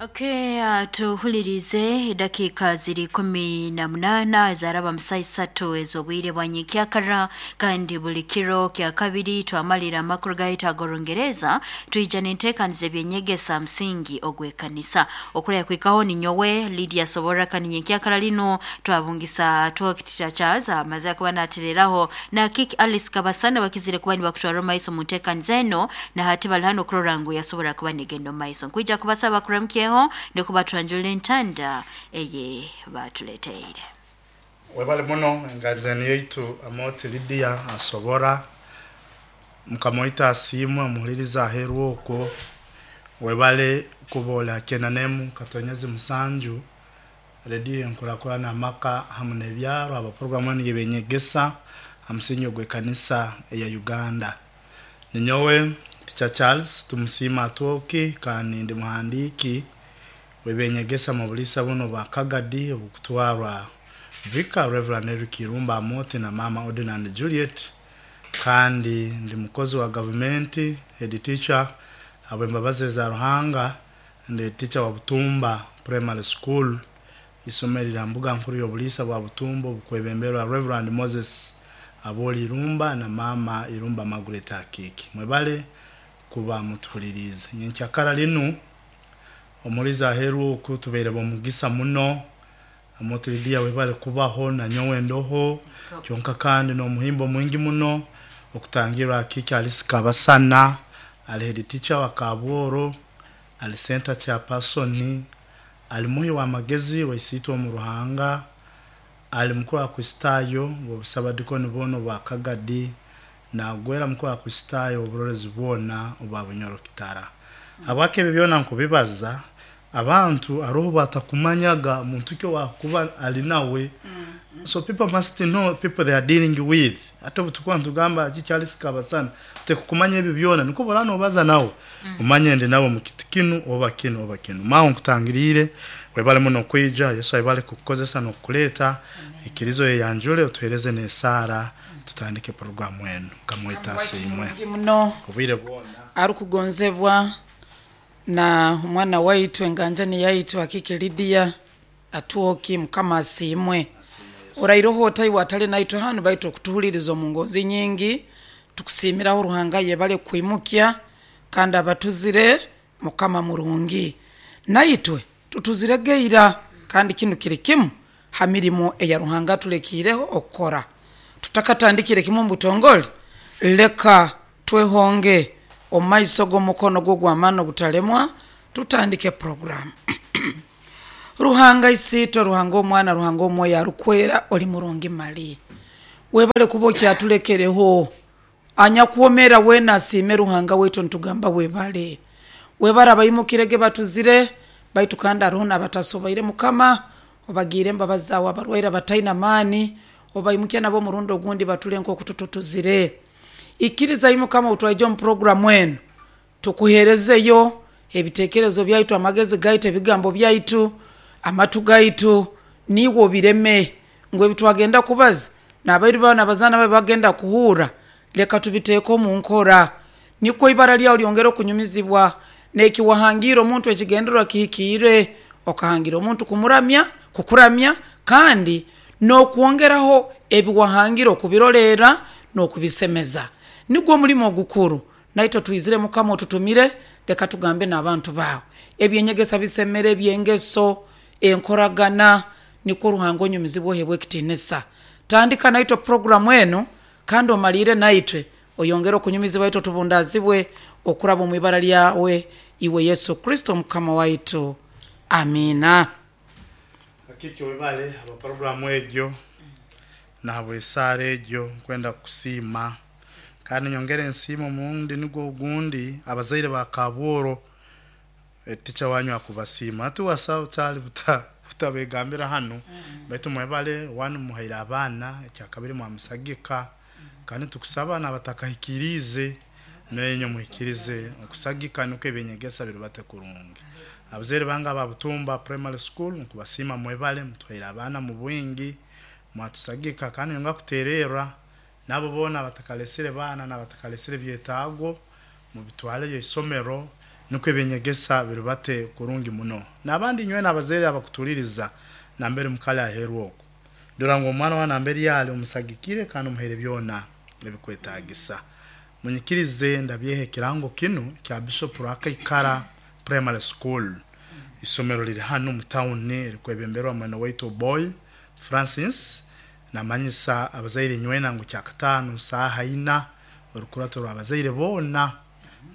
Okay, tuhulirize edakika ziri 18 ezaraba musa 3 ez'obwire bwa nyenkyakara. Kandi buli kiro kya kabiri twamalira amakuru gaitu ag'Orungereza, twija n'enteekaniza ebyenyegesa musingi ogw'ekanisa. Okuraya kwikaho ninyowe Lydia Soborra, kandi nyenkyakara linu twabungisa twokitita Charles amaze kuba natereraho na Kik Alice Kabasana bakizire kuba nibakutwara omu maiso mu nteekaniza eno, na hati bali hano kurora ngu yasobora kuba negenda omu maiso. Nkwija kubasaba kuramukyeho nikuba twanjulira entanda eye batuleteire. Webale muno enganjani yaitu Amoti Lydia asobora mukama waitu asiimwe omuhuliriza aheeru okwo. Webale kuba oli 97 7 rediyo enkurakurana amaka hamu n'ebyaro aba programu enu y'ebyenyegesa ha musingi ogw'ekanisa eya Uganda. Ninyowe Teacher Charles Tumusiime Atwoki, kandi ndi muhandiiki w'ebyenyegesa mu buliisa buno bwa Kagadi obukutwarwa Vicar Reverend Eric Irumba Amoti na Mama Ordinand Juliet, kandi ndi mukozi wa gavumenti, head teacher habw'embabazi eza Ruhanga. Ndi teacher wa Butumba Primary School, isomero lya mbuga nkuru y'obuliisa bwa Butumba obukwebemberwa Reverend Moses Aboli Irumba na Mama Irumba Margaret Akiiki. Mwebale kuba mutuhuliriize. Nyenkyakara linu omulizi aheeru oku tubaire b'omugisa muno. Amoti Lydia webale kubaho na nyowe ndoho kyonka, kandi n'omuhimbo mwingi muno okutangirra Akiiki Alice Kabasana, ali head teacher wa Kabworo, ali center chairperson, ali muhi w'amagezi waisiitwe omu Ruhanga, ali mukuru wa Kristaayo bw'obusabadikoni bwona obwa Kagadi, nagwera mukuru wa Kristaayo oburorezi bwona obwa Bunyoro Kitara. Habwaki ebi byona nkubibaza? Abantu haroho batakumanyaga muntu ki owakuba ali nawe. So people must know people they are dealing with. Ate obu tukuba nitugamba Kiki Alice Kabasana, tekukumanya ebi byona, nikwo bora nobaza nawe omanye ndi nawe mu kiti kinu oba kinu oba kinu. Maawe nkutangiriire, webale muno kwija, Yesu ayebale kukukozesa n'okukuleeta. Ikiriza oyeyanjule otuheereze n'esaara tutandike programu enu. Mukama waitu asiimwe. Muno. Obwire bwona. Arukugonzebwa na omwana waitu enganjani yaitu Akiki Lydia Atwoki, Mukama asiimwe. Orairoho otaiwe atali naitwe hanu, baitu okutuhuliriza omu ngonzi nyingi, tukusiimiraho Ruhanga yebale kwimukya kandi abatuzire. Mukama murungi, naitwe tutuzire geira, kandi kinu kiri kimu ha mirimo eya Ruhanga atulekiireho okukora. Tutakatandikire kimu omu butongole, leka twehonge omu maiso g'omukono gwo ogw'amaani ogutalemwa, tutandike puroguramu. Ruhanga Isiitwe, Ruhanga Omwana, Ruhanga Omwoyo Arukwera, oli murungi mali. Webale kuba okyatulekereho. Anyakwomera weena asiime Ruhanga waitu, nitugamba webale. Webale abaimukirege batuzire, baitu kandi haroho n'abatasoboire. Mukama, obagiire embabazi zaawe, abarwaire abataine amaani, obaimukye nabo omurundi ogundi batule nk'oku tututuzire. Ikiriza ai Mukama obu twaija omu puroguramu enu, tukuheerezeyo ebiteekerezo byaitu, amagezi gaitu, ebigambo byaitu, amatu gaitu, niiwe obireme ngu ebi twagenda kubaza n'abairu baawe n'abazaana baawe bagenda kuhurra, leka tubiteeke omu nkora. Nikwo ibara lyawe lyongere okunyumizibwa, n'eki wahangiire omuntu ekigendererwa kihikiire, okahangira omuntu kumuramya, kukuramya, kandi n'okwongeraho ebi wahangire okubirolerra n'okubisemeza. Nigwo omulimo ogukuru. Naitwe twizire Mukama otutumire, leka tugambe n'abantu baawe. Ebyenyegesa bisemere, eby'engeso, enkoragana, nikwo Ruhanga onyumizibwe oheebwe ekitiinisa. Tandika naitwe puroguramu enu kandi omaliire naitwe, oyongere okunyumizibwa itwe tubundaazibwe okuraba omu ibara lyawe iwe Yesu Kristo Mukama waitu. Amiina. Akiki webale habwa programu egyo na habw'esaara egyo. Nkwenda kukusiima kandi nyongere nsiime omurundi nigwo ogundi abazaire ba Kabworo. Teacher wanyu akubasiima. Hati wasaba kyali butabegambira hanu, baitu mwebale one muhaire abaana, ekyakabiri mwamusagika, kandi tukusaba n'abatakahikiriize nainywe muhikirize okusagika nukwo ebyenyegesa birubate kurungi. Abazaire bange aba Butumba Primary School nkubasiima, mwebale mutuhaire abaana mu bwingi, mwatusagika, kandi nyongera kutererra nabo boona abatakalesire baana n'abatakalesire byetaago, mubitwaleyo isomero. Nukwo ebyenyegesa biribate kurungi muno. N'abandi nywena abazaire abakutuliriza nambere mukali aheeru okwo, dora ngu omwana wawe nambere ali omusagikire kandi omuhaire byona ebikwetagisa. Munyikirize ndabyeho ekirango kinu kya Bishop Rwakaikara Primary School. Isomero liri hanu mu tawuni erikwebemberwa mwene waitu Oboy Francis. Namanyisa abazaire nywena ngu Kyakataano saaha ina orukurato rw'abazaire boona.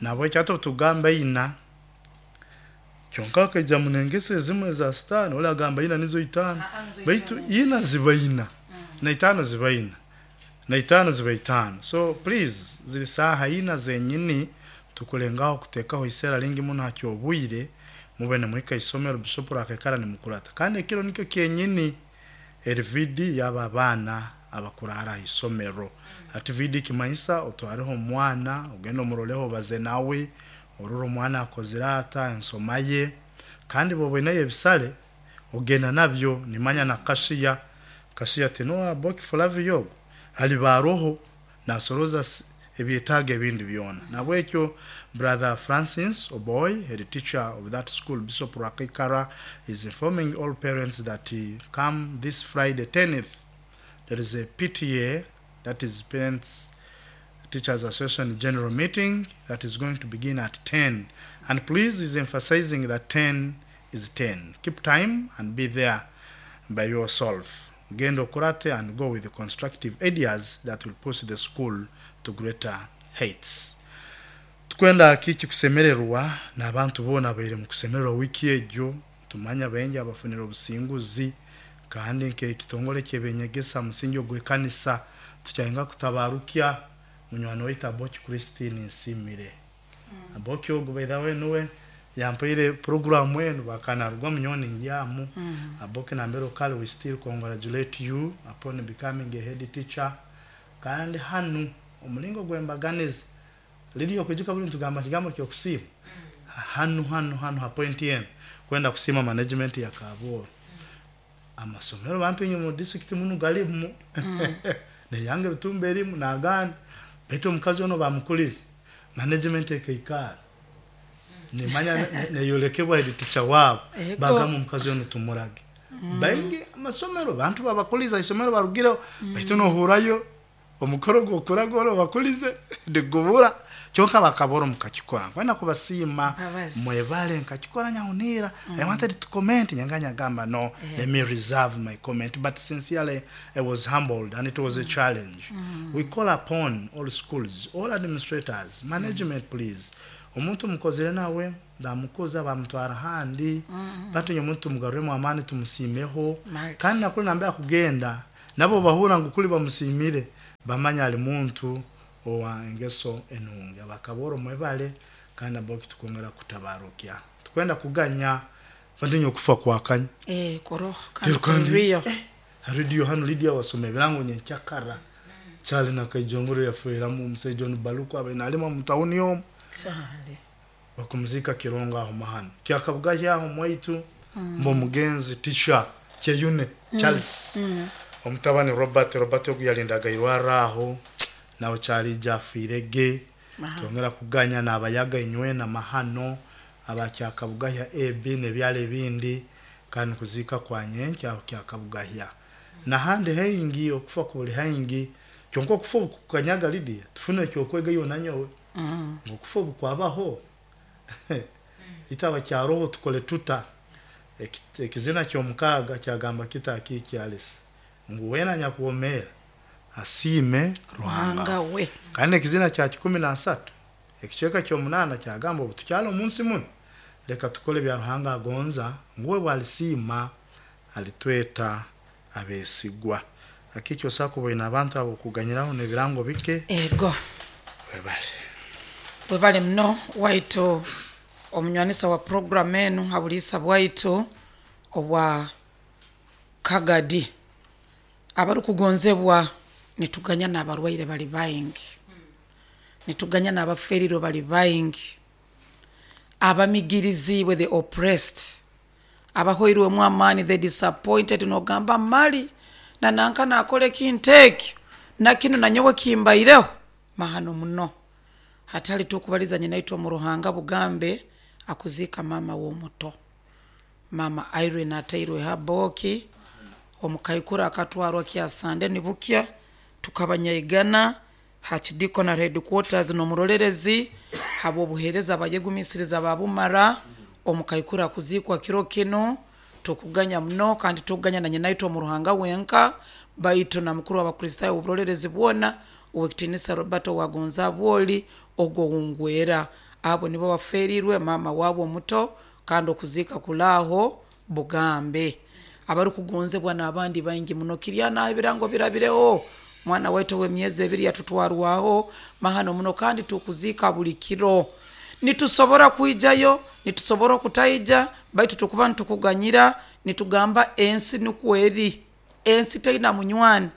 Nahabweki hati obutugamba ina, kyonka hakaija muno engeso ezimu eza sitaani, oli agamba ina nizo itaano, baitu ina ziba ina, na itaano ziba ina, na itaano ziba itaano. So please, ziri saaha ina zenyini, tukulengaho kuteekaho iseera lingi muno ha ky'obwire, mube nimuhika isomero Bishop Rwakaikara nimukurata. Kandi ekiro nikyo kyenyini eri VD y'abo abaana abakuraara ha isomero. Hati VD kimanyisa otwareho omwana, ogende omuroleho obaze nawe, orole omwana akozire ata, ensoma ye, kandi bw'oba oineyo ebisale, ogenda nabyo, nimanya na kashiya, kashiya tinuwe Aboki Flavia ogu, aliba aroho nasoroza ebyetaago ebindi byona. Nahabwekyo Brother Francis Oboy, head teacher of that school, Bishop Rwakaikara, is informing all parents that come this Friday 10th, there is a PTA, that is Parents Teachers Association General Meeting, that is going to begin at 10. And please, is emphasizing that 10 is 10. Keep time and be there by yourself. Genda okurate and go with the constructive ideas that will push the school to greater heights. Tukwenda kiki kusemererwa n'abantu boona abaire mu kusemererwa wiiki egyo, tumanya baingi abafunire obusinguzi, kandi nk'ekitongole ky'eby'enyegesa musingi ogw'ekanisa tukyayenga kutabarukya munywani waitu Aboki Christine Nsimire. Aboki ogu by the way nuwe yampaire programu enu bakanarugwamu nyowe ningyamu. Aboki nambere okali, we still congratulate you upon becoming a head teacher. Kandi hanu omulingo gw'embaganiza liriyo okwijuka buli nitugamba kigambo ky'okusiima. Hanu hanu hanu ha point enu kwenda kusiima management ya Kabooro. Amasomero bantu inywe mu district munu galimu neyange ebitumba erimu n'agandi, baitu omukazi ono bamukulize management ekaikara nimanya neyolekebwa head teacher waabo, bagamba omukazi ono tumurage. Baingi amasomero bantu babakuliza isomero barugireho, baitu nohurayo omukoro gw'okuraga ori obakulize nigubura, kyonka bakabora mukakikora. Nkwenda kubasiima mwebale nkakikora nyahuniira. I wanted to comment, nyanganya gamba no, let me reserve my comment, but sincerely I was humbled and it was a challenge. We call upon all schools, all administrators, management, please. Omuntu mukozere nawe ndamukuza bamutwara handi, bantu nyomuntu tumugaruremu amaani tumusiimeho. Kandi nakuli nambe akugenda nabo bahura ngu kuli bamusiimire, bamanya ali muntu owa engeso enungi. Abakaboro mwebale kandi abo tukwongera kutabarukya. Tukwenda kuganya bantu nyo kufa kwakanya. Koro kandi kuriyo. Radio hano Lydia wasoma ebirango nyenkyakara. Charlie na Kaijongoro yafuiramu omusajja ono Baluku abe nalima mu tawuni omu. Charlie. Bakumuzika Kirongo aho mahano. Kyakabugahya aho mwaitu mbo mugenzi teacher Kyeyune Charles. Omutabani Robert, Robert ogu yalindaga irwara aho nawe Charlie jafiirege. Twongera kuganya n'abayaga inywe na mahano abakyakabugahya AB n'ebyalo ebindi kandi kuzika kwa nyenkya aho kyakabugahya. Nahandi haingi okufa kuli haingi, kyonka okufa kukanyaga Lydia tufune ekyokwega iyo nanyowe. Okufa obukwabaho itaba kyaroho tukole tuta. Ekizina ky'omukaaga kyagamba kita akiki Alice ngu wena nyakuwomeera asiime Ruhanga we. Kandi ekizina kya 13 ekicweka ky'omunaana kyagamba obu tukyali omunsi muno leka tukole bya Ruhanga agonza, nguwe bwalisiima alitweta abesigwa. Akiki osaka oboine abantu abo kuganyiraho n'ebirango bike. Ego. Webale. Webale muno waitu omunywanisa wa program enu habuliisa bwaitu obwa Kagadi. Abarukugonzebwa nituganya n'abarwaire bali baingi, nituganya n'abaferirwe bali baingi, abamigirizibwe the oppressed, abahoirwemu amaani the disappointed, nogamba mali na nanka nakora ekintu ekyo na kinu nanyowe kimbaireho mahano muno. Hatali tukubaliza nyina itwe mu Ruhanga bugambe Akuziika mama w'omuto mama Irene atairwe haboki. Omukaikuru akatwarwa kyasande nibukya, tukaba nyaigana hakidikonary headquarters n'omurolerezi habw'obuheereza bayegumisiriza babumara. Omukaikuru akuziikwa kiro kinu, tukuganya muno kandi tukuganya na nyinaitwe omu Ruhanga wenka, baitu na mukuru w'Abakristaayo w'oburolerezi bwona ow'ekitiinisa Roberto Wagonzabwoli ogwo wungwera. Abo nibo baferiirwe maama waabo omuto, kandi okuziika kulaaho Bugambe. Abarukugonzebwa n'abandi baingi muno kirya naho ebirango birabireho. Mwana waitu ow'emyezi 2 yatutwarwaho mahano muno, kandi tukuziika buli kiro. Nitusobora kwijayo, nitusobora okutaija, baitu tukuba nitukuganyira, nitugamba ensi nukwo eri. Ensi teina munywani,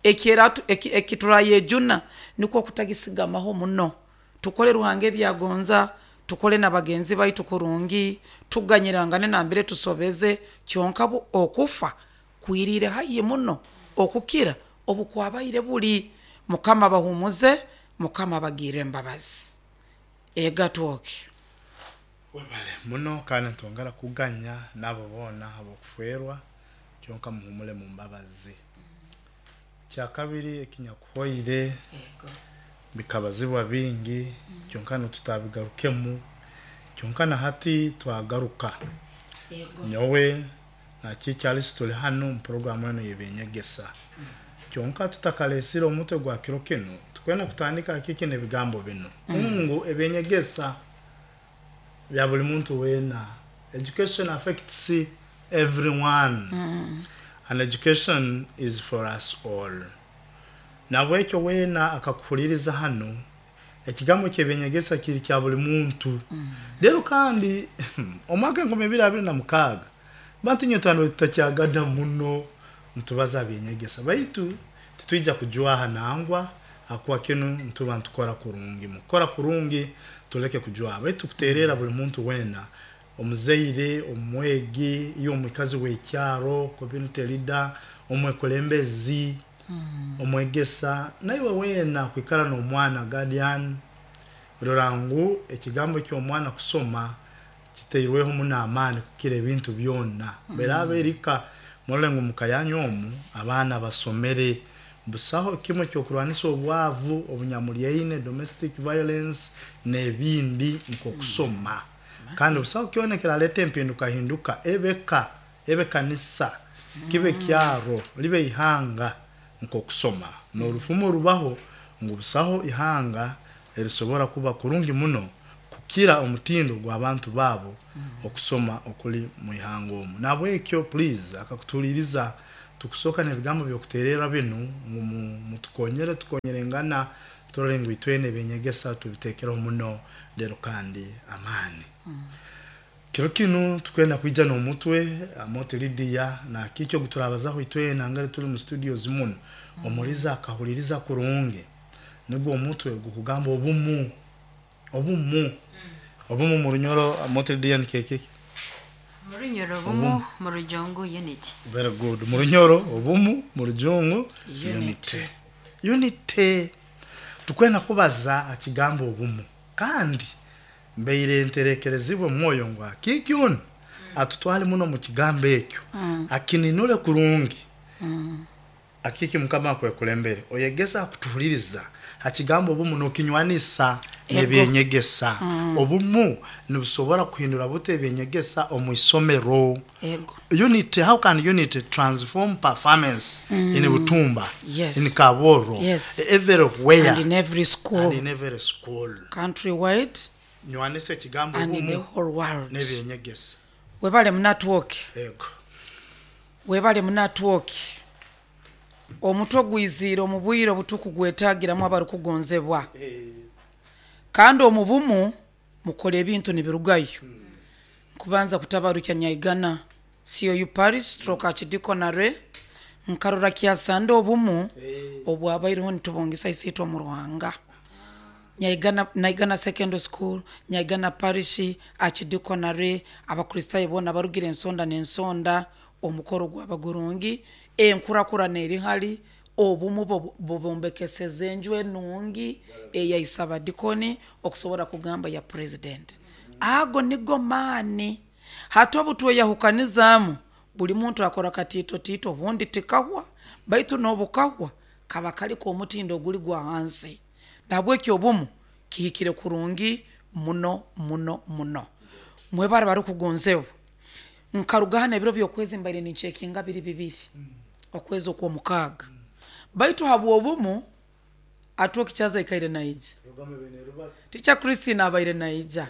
ekiturayejuna nikwo kutagisigamaho muno. Tukole Ruhanga ebyagonza, tukole na bagenzi baitu kurungi, tuganyirangane nambere tusobeze, kyonka bo okufa kwiriire haihi muno okukira obukwabaire buli. Mukama abahumuze, Mukama abagirre embabazi. Egatwoke. Webale muno kandi nitwongera kuganya n'abo boona ab'okufeerwa, kyonka muhumule mu mbabazi. Kyakabiri ekinyakuhoire bikabazibwa bingi, kyonka nitutabigarukemu, kyonka na hati twagaruka. Nyowe na Charles tuli hanu mu programu enu y'ebyenyegesa. Kyonka tutakalesire omutwe gwa kiro kinu, tukwenda kutandika kiki n'ebigambo binu. Ngu ebyenyegesa bya buli muntu weena. Education affects everyone. And education is for us all. Nabwekyo weena akakuhuliriza hanu, ekigambo ky'ebyenyegesa kiri kya buli muntu. Rero kandi omwaka 2026 bantu nyowe twali tutakyagada muno nitubaza byenyegesa, baitu titwija kujwaha nangwa, akuba kinu nituba nitukora kurungi. Mukukora kurungi tuleke kujwaha, baitu tukuterera buli muntu weena, omuzaire, omwegi, iwe omwikazi w'ekyaro, community leader, omwekulembezi, omwegesa, naiwe weena kwikara n'omwana guardian, rora ngu ekigambo ky'omwana kusoma kitairweho muno amaani kukira ebintu byona. Beraaba erika, murole ngu muka yanyu omu abaana basomere. Busaho kimwe ky'okurwanisa obwavu, obunyamulyaine, domestic violence n'ebindi nk'okusoma. Kandi busaho kyona ekiraleeta empindukahinduka ebeka, ebe kanisa, kibe kyaro, libe ihanga nk'okusoma. N'orufumo rubaho ngu busaho ihanga erisobora kuba kurungi muno kukira omutindo gw'abantu baabo okusoma okuli mu ihanga omu. Nabwekyo please akakutuhuliriza tukusooka n'ebigambo by'okutererra binu ngu mutukonyere, tukonyerengana turole ngu itwena ebyenyegesa tubiteekereho muno lero kandi amaani. Kiro kinu tukwenda kwija n'omutwe Amooti Lydia na kiki ogu turabazaho itwena ngari tuli mu studios muno, omuliza akahuliriza kurungi nigwo omutwe gukugamba obumu, obumu, obumu mu Runyoro. Amooti Lydia nikyo kiki? Mu Runyoro obumu, mu Rujungu unity. Very good. Mu Runyoro obumu, mu Rujungu unity. Unity. Tukwenda kubaza akigambo obumu, kandi mbaire nterekerezibwe mwoyo ngu akiiki onu atutwale muno mu kigambo ekyo, akininule kurungi. Akiiki Mukama akwekulembere, oyegese akutuhuliriza ha kigambo obumu n'okinywanisa n'ebyenyegesa. Obumu nibusobora kuhindura buta ebyenyegesa omu isomero? Unity, how can unity transform performance in Butumba, in Kaboro, everywhere and in every school, and in every school? Countrywide Nywanisa ekigambo and in the obumu whole world. n'ebyenyegesa. Webale munatwoke. Ego. Webale munatwoke. Omutwe gwiziire omu bwire obutukugwetagiramu abarukugonzebwa. Kandi omu bumu mukora ebintu nibirugayo. Nkubanza kutabarukya Nyaigana COU Parish stroke Archidiaconary, nkarora kyasande obumu obwabaireho nitubungisa Isiitwe omu Ruhanga. Nyaigana, Naigana Secondary School, Nyaigana Parish, Archidiaconary, Abakristaayo boona barugire ensonda n'ensonda, omukoro gwaba gurungi, enkurakurana eri hali, obumu bubombekeseze enju enungi eyaisa abadikoni okusobora kugamba ya president. Ago nigo maani. Hati obu tweyahukanizaamu, buli muntu akora katiito tiito, obundi tikahwa, baitu n'obukahwa kaba kali k'omutindo oguli gwa hansi. Nahabweki obumu kihikire kurungi muno muno muno. Mwebale abarukugonzebwa, nkaruga hanu ebiro by'okwezi mbaire nincekinga biri bibiri, okwezi okw'omukaaga, baitu habw'obumu Atwoki Kyaza aikaire naija, Teacher Christine abaire naija,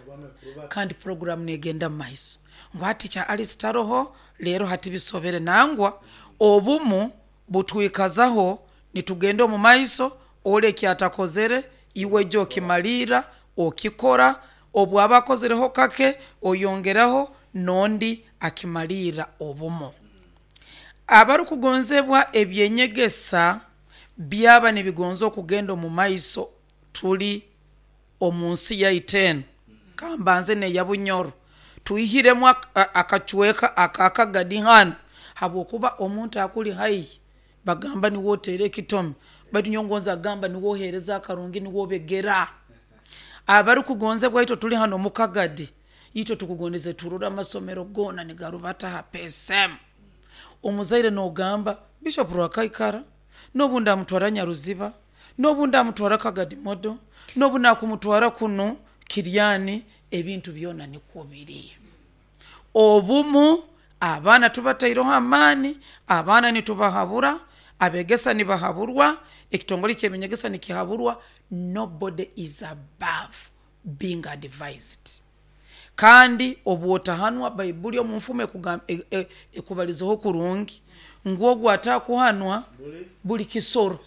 kandi puroguramu negenda mu maiso ngu hati Teacher Alice taroho, leero hati bisobere. Nangwa obumu butwikazaho nitugenda omu maiso, oli eki atakozere iwe ija okimalirra, okikora, obu aba akozereho kake oyongeraho n'ondi akimalirra. Obumu. Abarukugonzebwa, eby'enyegesa byaba nibigonza okugenda omu maiso tuli omu nsi yaitu enu, kambanze n'eya Bunyoro, twihiremu akacweka aka Kagadi hanu, habwokuba omuntu akuli haihi bagamba niwe oteera ekitomi, baitu nyowe ngonza kugamba niwe oheereza akarungi, niwe obegera. Abarukugonzebwa, itwe tuli hanu omu Kagadi, itwe tukugondeze turole amasomero goona nigarubata ha PSM. Omuzaire n'ogamba Bishop Rwakaikara, n'obu ndamutwara Nyaruziba, n'obu ndamutwara Kagadi Model, n'obu nakumutwara kunu Kiryani, ebintu byona nikwo biri. Obumu abaana tubataireho amaani, abaana nitubahabura, abegesa nibahaburwa, ekitongole ky'eby'enyegesa nikihaburwa, nobody is above being advised. Kandi obu otahanwa, Baibuli omu nfumo ekubalizeho kurungi ngu ogu atakuhanwa buli kisoro,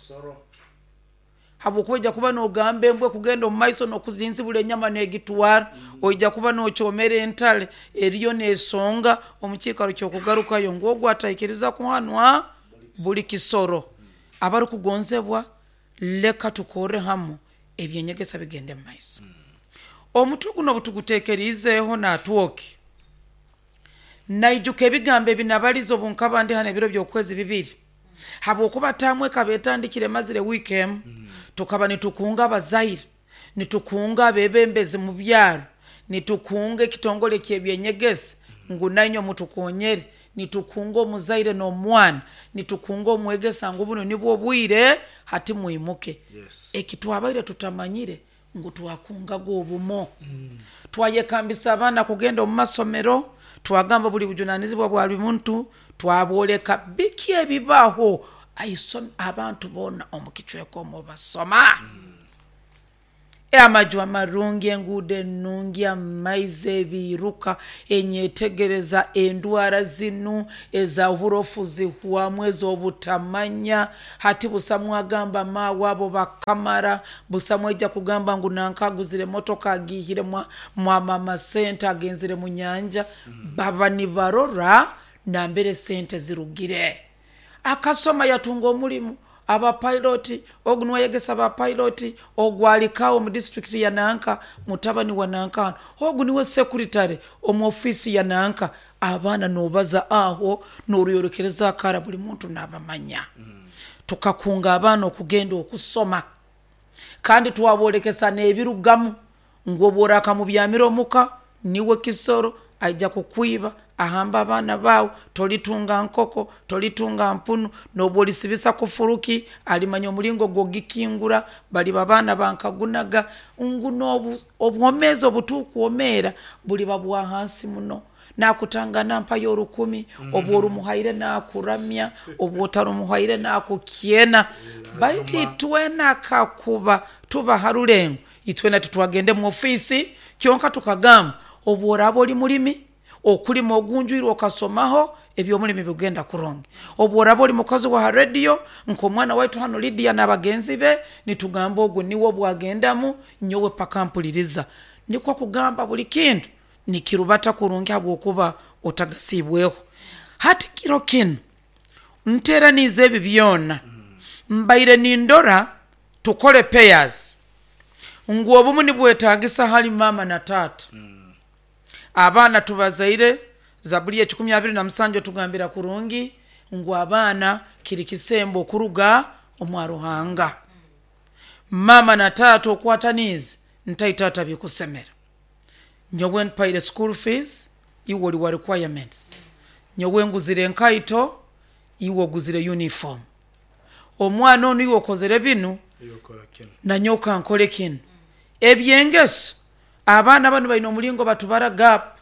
habwokuba oija kuba n'ogamba embwa kugenda omu maiso n'okuzinzibura enyama n'egitwara, oija kuba n'okyomera entale eriyo n'esonga omu kiikaro ky'okugarukayo, ngu ogu ataikiriza kuhanwa buli kisoro. Abarukugonzebwa, leka tukorre hamu ebyenyegesa bigende mu maiso. Omutwe guno obu tuguteekeriizeeho n'Atwoki, naijuka ebigambo ebi nabalize obu nkaba ndi hanu ebiro by'okwezi bibiri, habwokuba taamu ekaba etandikire emazire wiiki emu. Tukaba nitukunga abazaire, nitukunga abeebembezi mu byaro, nitukunga ekitongole ky'ebyenyegesa ngu nainywe mutukonyere, nitukunga omuzaire n'omwana, nitukunga omwegesa ngu bunu nibwo obwire hati mwimuke. Eki twabaire tutamanyire ngu twakungaga obumu. Twayekambisa abaana kugenda omu masomero, twagamba buli bujunanizibwa bwa buli muntu, twabooleka biki ebibaho abantu boona omu kicweka omu basoma. Amaju amarungi, enguudo enungi, amaizi, ebiiruka, enyetegereza, endwara zinu eza oburofu zihwamu, ez'obutamanya. Hati busamu agamba maawe abo bakamara, busamu aija kugamba ngu nanka aguzire emotoka agiihire mwa mama sente agenzire mu nyanja. Baba nibarora nambere sente zirugire. Akasoma yatunga omulimu, aba pilot, ogu nuwe ayegesa ba pilot, ogu alikawo omu disitulikiti ya nanka, mutabani wa nanka, ogu niwe secretary omu ofiisi ya nanka. Abaana nobaza aho noruyorekereza akara, buli muntu nabamanya. Tukakunga abaana okugenda okusoma, kandi twabolekesa n'ebirugamu ngu obu orakamubyamira omuka niwe kisoro, aija kukwiba, ahamba abaana baawe, tolitunga nkoko, tolitunga mpunu, n'obu olisibisa kufuruki alimanya omulingo gw'ogikingura, baliba abaana bankagunaga, ngu n'obwomeezi obutukwomeera buliba bwa hansi muno. Nakutangana mpayo 1000, obu orumuhaire nakuramya, obu otarumuhaire nakukyena. Baitu itwena kakuba tuba ha rulengo, itwena titwagende mu ofiisi, kyonka tukagamba obu oraaba oli mulimi, okulima ogunjwire okasomaho, eby'omulimi bigenda kurungi. Obu oraaba oli mukozi wa ha rediyo nk'omwana waitu hanu Lydia n'abagenzi be, nitugamba ogu niwe obwagendamu nyowe paka mpuliriza. Nikwo kugamba buli kintu nikirubata kurungi habwokuba otagasiibweho. Hati kiro kinu nteraniize ebi byona, mbaire nindora tukole pairs ngu obumu nibwetagisa hali maama na taata. Abaana tubazaire, Zabuli ekikumi abiri na musanju etugambira kurungi ngu abaana kiri kisembo okuruga omwa Ruhanga. Maama na taata okwataniize ntai taata bikusemera. Nyowe mpaire school fees, iwe oli wa requirements. Nyowe nguzire enkaito, iwe oguzire uniform. Omwana onu iwe okozere binu, nanyowe kankole kinu. Ebyengeso, abaana banu baine omulingo batubara gap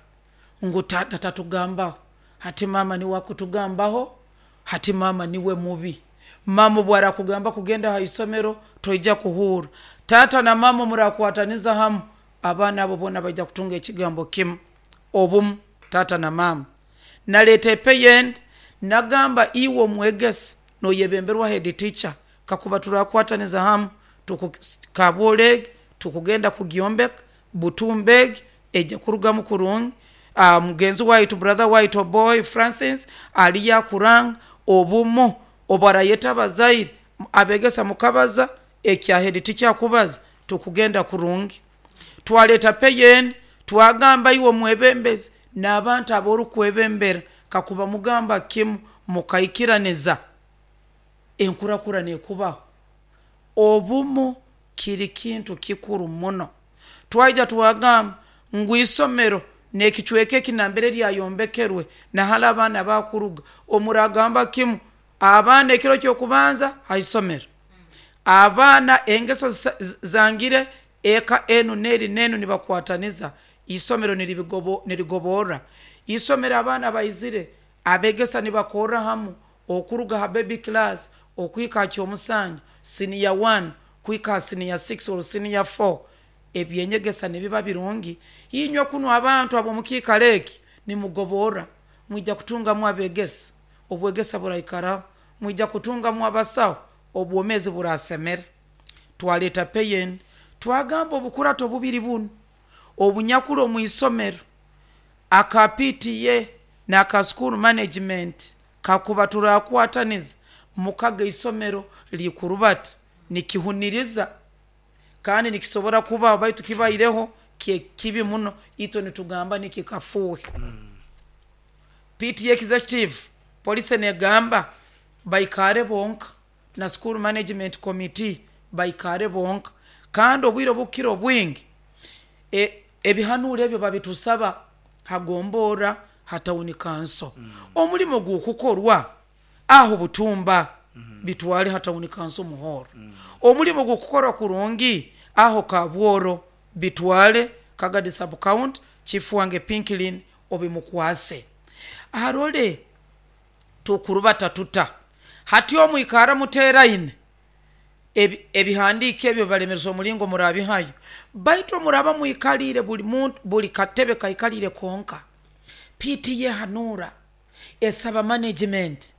ngu taata tatugambaho, hati maama niwe akutugambaho, hati maama niwe mubi. Maama obu arakugamba kugenda ha isomero toija kuhurra. Taata na maama murakwataniza hamu, abaana abo boona baija kutunga ekigambo kimu, obumu taata na maama. Naleeta epeyend nagamba iwe omwegesa noyebemberwa head teacher, kakuba turakwataniza hamu Kabwola egi tukugenda kugyombeka, Butumba egi ejya kurugamu kurungi. Mugenzi waitu brother waitu Oboy Francis aliyo akuranga obumu obu arayeta abazaire abegesa mukabaza ekya head teacher akubaza tukugenda kurungi. Twaleeta peyend twagamba iwe omwebembezi n'abantu aborukwebembera kakuba mugamba kimu mukaikiraniza enkurakurana ekubaho. Obumu kiri kintu kikuru muno. Twaija twagamba ngu isomero n'ekicweka eki nambere lyayombekerwe nahali abaana bakuruga, omuragamba kimu abaana ekiro ky'okubanza ha isomero, abaana engeso zangire eka enu n'eri n'enu nibakwataniza, isomero nirigoborra. Isomero abaana baizire abegesa nibakorra hamu okuruga ha baby class okuhika ha kyomusanju, senior 1 kuhika ha senior 6 or senior 4, ebyenyegesa nibiba birungi. Inywe kunu abantu ab'omukiikaro eki nimugoborra, mwija kutungamu abegesa, obwegesa buraikaraho, mwija kutungamu abasaho, obwomeezi burasemera. Twaleeta peyend twagamba obukurato bubiri bunu obunyakuli omu isomero aka PTA n'aka school management, kakuba turakwataniza mukaga isomero likurubata nikihuniriza kandi nikisobora kubaho, baitu kibaireho kibi muno, itwe nitugamba nikikafuuhe. PTA executive police negamba baikare bonka na school management committee baikare bonka, kandi obwire obukukira obwingi ebihanuuro ebyo babitusaba hagombora ha town council. Omulimo gukukorwa aho Butumba bitwale ha town council Muhoro. Omulimo gukukorwa kurungi aho Kabworo bitwale Kagadi sub county, chief wange Pinklin obimukwase arole tukurubata tuta. Hati omwikara muteraine ebihandiiko ebyo balemeresa omulingo murabihayo, baitu muraba mwikalire buli muntu buli katebe kaikalire konka. PTA hanuura esaba management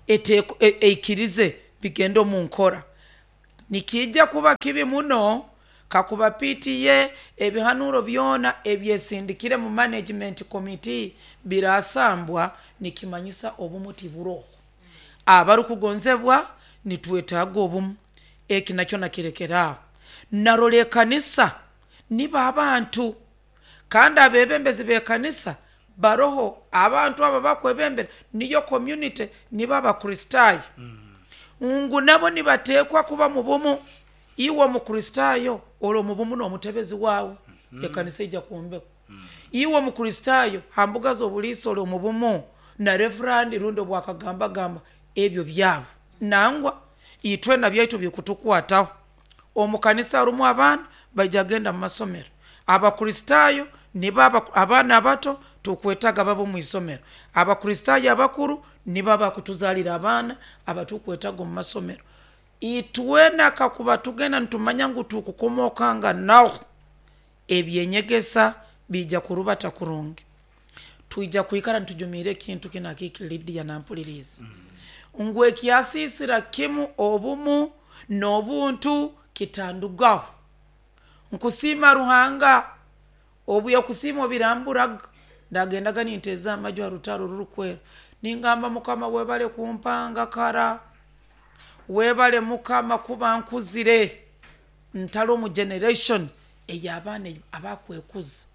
eikirize bigende omu nkora. Nikiija kuba kibi muno kakuba PTA ebihanuuro byona ebyesindikire mu management committee birasambwa, nikimanyisa obumu tiburoho. Abarukugonzebwa nitwetaaga obumu, eki nakyo nakirekera aho. Narora ekanisa nibo abantu, kandi abebembezi b'ekanisa baroho, abantu abo bakwebembera niyo community, nibo Abakristaayo, ngu nabo nibateekwa kuba mu bumu. Iwe Omukristaayo ori omu bumu n'omutebezi waawe, ekanisa ija kwombekwa. Iwe Omukristaayo ha mbuga z'obuliisa ori omu bumu na reverand rundi obwakagambagamba ebyo byabo. Nangwa itwena byaitu bikutukwataho. Omu kanisa harumu abaana baija kugenda mu masomero. Abakristaayo nibo abaana abato tukwetaga babe omu isomero. Abakristaayo abakuru nibo abakutuzaalira abaana abatukwetaga omu masomero. Itwena kakuba tugenda nitumanya ngu tukukomokanga naho, ebyenyegesa biija kurubata kurungi. Twija kwikara nitujumiire ekintu kinu akiki Lydia nampuliriize ngu ekyasiisira kimu obumu n'obuntu kitandugaho. Nkusiima Ruhanga obu yakusiima obiramburaga, ndagendaga ninteeza amaju ha rutaro rurukwera, ningamba Mukama webale kumpanga kara, webale Mukama kuba nkuzire ntali omu generation ey'abaana abakwekuza.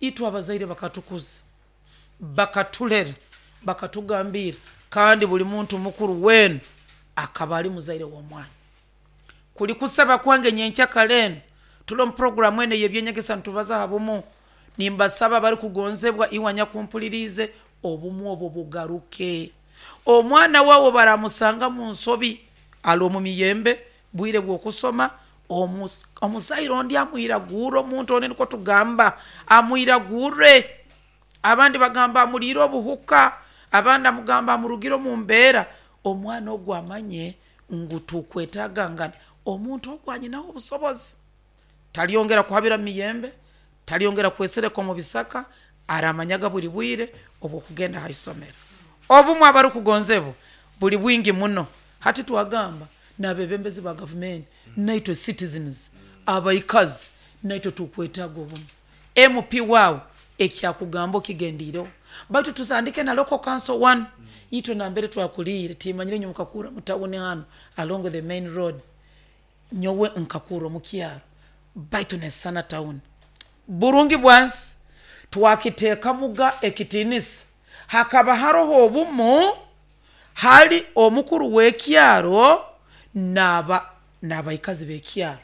Itwe abazaire bakatukuza, bakatulera, bakatugambira, kandi buli muntu mukuru weena akaba ali muzaire w'omwana. Kuli kusaba kwange nyenkya kara enu, tuli omu puroguramu enu ey'ebyenyegesa nitubaza ha bumu. Nimbasaba bari kugonzebwa iwe nyakumpulirize, obumu obwo bugaruke. Omwana wawe baramusanga mu nsobi ali omu miyembe bwire bw'okusoma, omuzaire ondi amwiragure, omuntu ondi niko tugamba amwiragure. Abandi bagamba amulire obuhuka, abandi amugamba amurugire omu mbeera. Omwana ogwo amanye ngu tukwetagangana, omuntu ogwo anyinaho obusobozi, talyongera kuhabira mu miyembe, talyongera kwesereka omu bisaka, aramanyaga buli bwire obwokugenda ha isomero. Obumu abarukugonzebwa buli bwingi muno. Hati twagamba n'abebembezi ba gavumenti, naitwe citizens abaikazi, naitwe tukwetaaga obumu. MP wawe ekyakugamba okigendireho, baitu tusandike na local council 1 itwe nambere twakuliire timanyire nyowe nkakura mu tawuni hano along the main road, nyowe nkakura omu kyaro baitu nesana tawuni. Burungi bwansi twakiteekamuga ekitinisa, hakaba haroho obumu hali omukuru w'ekyaro n'abaikazi b'ekyaro.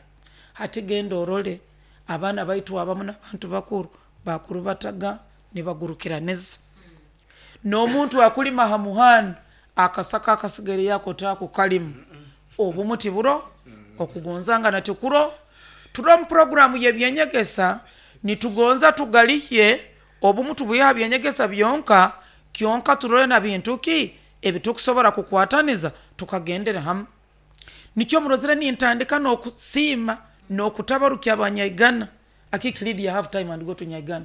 Hati genda orole abaana baitu abamu n'abantu bakuru bakurubataga nibagurukiraniza, n'omuntu akulima ha muhanda akasaka akasigaire yako takukalima. Obumu tiburo, okugonzangana tikuro. Turi omu puroguramu y'ebyenyegesa, nitugonza tugalihye obumu tubwihe ha byenyegesa byonka kyonka, turole na bintu ki ebitukusobora kukwataniza tukagendera hamu. Nikyo murozere nintandika n'okusiima n'okutabarukya abanyaigana. Akiki Lydia, have time and go to Nyaigana,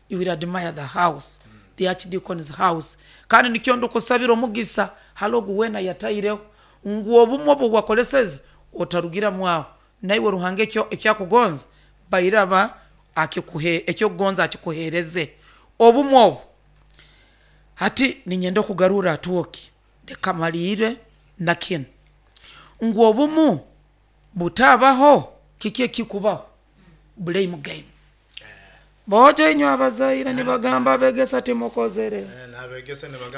you will admire the house, the archdeacon's house. Kandi nikyo ndukusabira omugisa hali ogu weena yataireho ngu obumu obwo bwakoleseze otarugiramu aho, naiwe Ruhanga ekyakugonza bairaba akikuhe, ekyokugonza akikuhereze obumu obu. Hati ninyenda okugarura atwoki leka malire na kinu ngu obumu butabaho, kiki ekikubaho? Blame game. Bojo inywe abazaire nibagamba abegesa timukozere,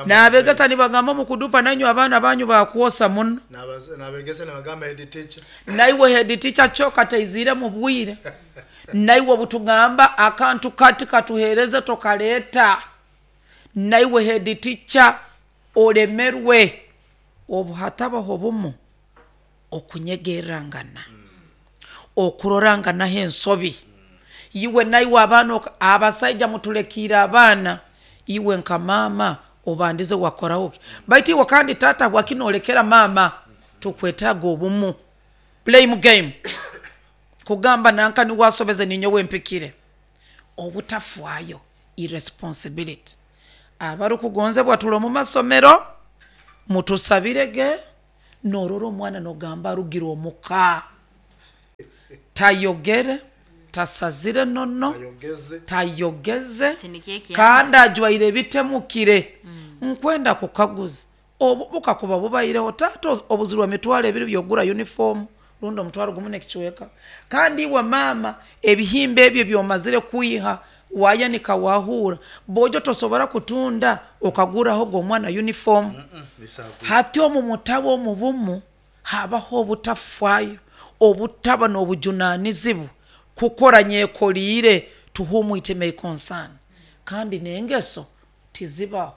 n'abegesa nibagamba mukudupa, nainywe abaana banyu bakwosa muno, n'abegesa nibagamba head teacher, naiwe head teacher kyo kataizire mu bwire, naiwe obutugamba akantu kati katuhereze tokaleta, naiwe head teacher olemerwe. Obu hatabaho obumu, okunyegerrangana, okuroranganaho ensobi, iwe naiwe abaana abasaija mutulekiire abaana, iwe nka maama obandize wakoraho ki? Baitu iwe kandi taata habwaki noolekera maama? Tukwetaaga obumu. Blame game, kugamba nanka niwe asobeze ninyowe mpikire. Obutafaayo, irresponsibility. Abarukugonzebwa tuli omu masomero, mutusabirege. Norora omwana nogamba arugire omuka, tayogere, tasazire nono, tayogeze, kandi ajwaire ebitemukire. Nkwenda kukaguza, obu bukakuba bubaireho taata obuzirwe 20,000 byogura uniform rundi 10,000 n'ekicweka, kandi iwe maama ebihimba ebyo byomazire kwiha wayanika wahuura, bojo tosobora kutunda okaguraho omwana uniform. Hati omu mutabo omu bumu habaho obutafaayo, obutaba n'obujunanizibwa, kukora nyekoliire, to whom it may concern. Kandi n'engeso tizibaho.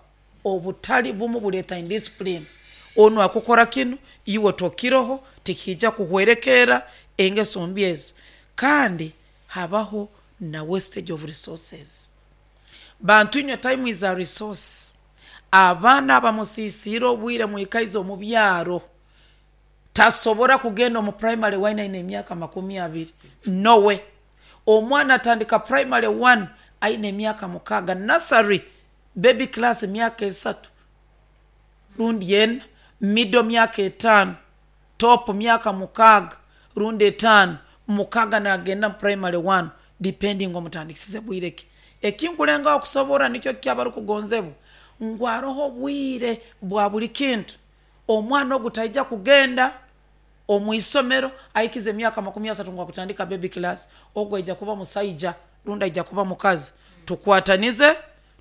Obutali bumu buleeta indiscipline, onu akukora kinu iwe tokiroho, tikiija kuhwerekerra engeso mbi ezo. Kandi habaho na wastage of resources. Bantu inywe, time is a resource. Abaana abamusisiire obwire mwikaize omu byaro, tasobora kugenda omu primary 1 aine emyaka 20, nowe. Omwana atandika primary 1 aine emyaka 6, nursery baby class emyaka 3 rundi 4, middle myaka 5, top myaka 6 rundi 5, 6 nagenda mu primary 1, depending omutandikisize bwire ki. Ekinkulengaho kusobora nikyo kyabarukugonzebwa ngu aroho obwire bwa buli kintu. Omwana ogu taija kugenda omu isomero ahikize emyaka 30 ngu akutandika baby class, ogu aija kuba musaija rundi aija kuba mukazi. Tukwatanize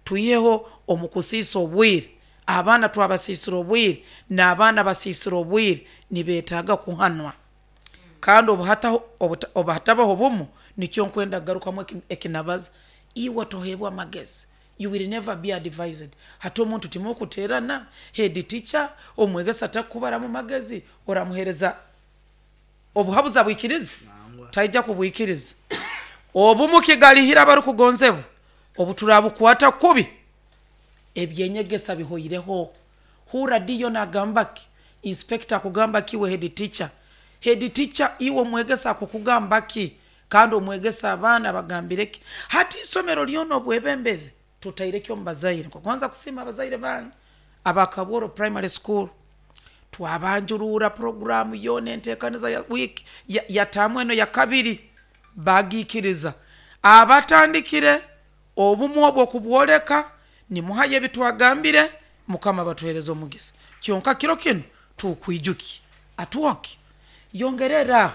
twiheho omu kusiisa obwire. Abaana twabasiisira obwire, n'abaana basiisira obwire, nibetaaga kuhanwa. Kandi obu hatabaho obumu, nikyo nkwenda kugarukamu ekinabaza. Iwe tohebwa amagezi, you will never be advised. Hati omuntu timukuterana, head teacher omwegesa takubaramu magezi, oramuhereza obuhabuzi abwikirize? Taija kubwikiriza. Obumu kigalihira abarukugonzebwa, obuturabukwata kubi, ebyenyegesa bihoireho. Hura diyo nagamba ki, inspector akugamba ki, we head teacher? Head teacher iwe omwegesa akukugamba ki, kandi omwegesa abaana bagambire ki? Hati isomero lyona obwebembezi tutairekyo omu bazaire. Nkugonza kusiima abazaire bange aba Kabworo Primary School, twabanjurura programu yoona entekaniza ya wiiki ya taamu eno ya kabiri, bagiikiriza. Abatandikire obumu obwo okubwoleka, nimuhayo ebitwagambire, Mukama batuhereza omugisa. Kyonka kiro kinu tukwijuki atwoke yongerera aho,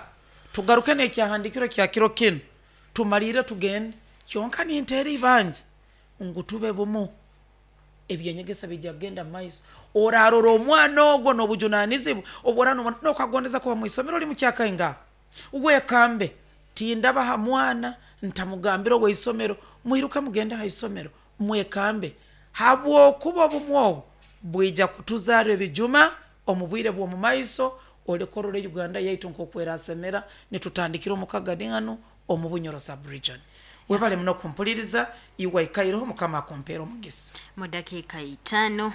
tugaruke n'ekyahandikiro kya kiro kinu, tumalire tugende. Kyonka ninteera ibanja ngu tube bumu, ebyenyegesa bijja kugenda mu maiso. Orarora omwana ogwo n'obujunanizibwa obworana nokagondeza kuba mu isomero limu kyakaingaha, wekambe tindaba ha mwana ntamugambire ow'isomero, mwiruke mugende ha isomero mwekambe, habwokuba obumu obu bwija kutuzarra ebijuma omu bwire bw'omu maiso. Olekorora Uganda yaitu nk'oku erasemera nitutandikira omu Kagadi hanu omu Bunyoro sub-region. Webale muno kumpuliriza, iwe aikaireho, Mukama akumpeere omugisa. Mu dakiika 5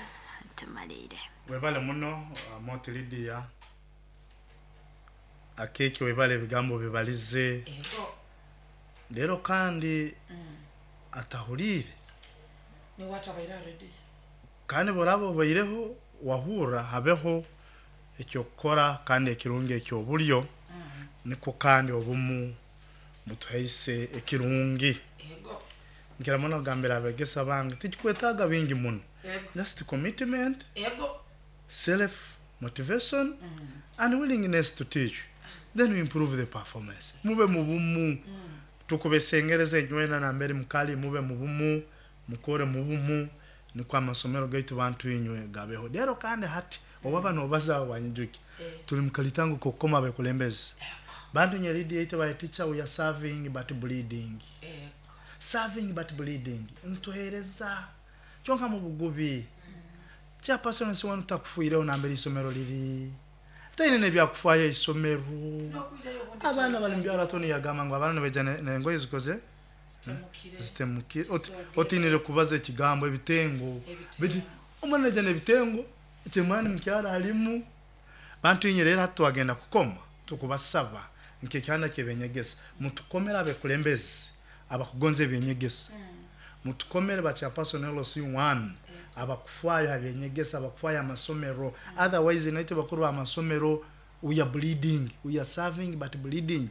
tumalire. Webale muno Moti Lydia akeki, webale ebigambo bibalize rero kandi atahuriire kandi boraba obaireho wahurra habeho ekyokukora kandi ekirungi ekyobulyo, nikwo kandi obumu butuhaise ekirungi. Nkira muno kugambira abegesa bange tikikwetaaga bingi muno, just commitment, self motivation and willingness to teach, then we improve the performance. Mube mubumu, tukubesengereza enywena nambere mukali, mube mubumu, mukore mubumu, nikwo amasomero gaitu bantu inywe gabeho. Rero kandi hati owaba nobaza wanyijuki, tuli mukalitango kokukoma abekulembezi bantu nye lead yaitu ba teacher, we are serving but bleeding, serving but bleeding, ntuhereza kyonka mu bugubi. Chairperson si wanu takufuireho nambere isomero liri, taine nebyakufayo isomero. Abaana bali mubyaro, atoni yagamba ngu abaana nibaija nengoye zikoze zitemukire, otinire kubaza ekigambo ebitengo, omwana naija nebitengo kyemani mukyaro alimu. Bantu inye rero hati twagenda kukoma, tukubasaba nkekyanda kyebenyegesa, mutukomere abekulembezi abakugonza ebyenyegesa, mutukomere ba chairperson LC1 abakufaayo abyenyegesa, abakufaayo amasomero. Otherwise naitwe bakuru b'amasomero we are bleeding, we are serving but bleeding.